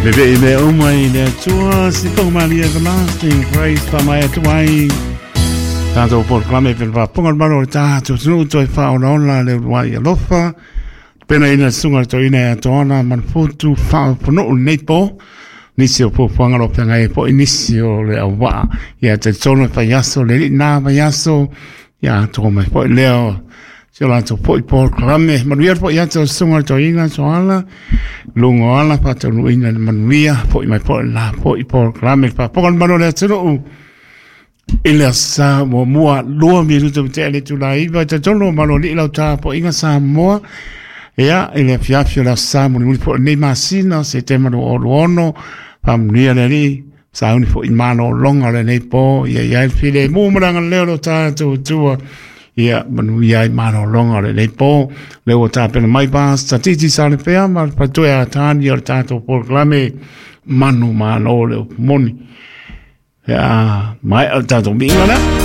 Vevee mea uma i le Atua, se tohumalie everlasting grace faamaea atu ai tatou polokalame pe le faafofoga o le Malo o le tatou atunuu toe faaolaola le uluai alofa pena ina susuga le toeaina ia Toala Manufutu Faaoponuu lenei po nisi o fuafuaga o lo o feagai ai foi nisi o le auvaa ia talitonu e faiaso le alii na vaiaso ia atoa mai foi lea o si o latou foi polokalame. Manuia le foi atu o le susuga i le toeaina Toala, luga o ala faataunuuina le manuia, foi mai foi le la foi polokalame le faafofoga o le Malo o le atunuu i le aso Sa muamua 2 minuta ma tea le itula 9. E talitonu o Malo alii lau tapuaiga Samoa ia i le afiafi o le aso Sa mulimuli foi o lenei masina o Setema 2026. Faamanuia le Alii, sauni foi malologa o lenei po ia i ai le filemu ma le agalelei o lo tatou Atua ia manuia ai malologa o lenei po. Lea ua tapena mai Pastor Titi Salepea ma le faletua ia Tani o le tatou polokalame Manu Malo le upu moni. Ia, maea le tatou miiga lea.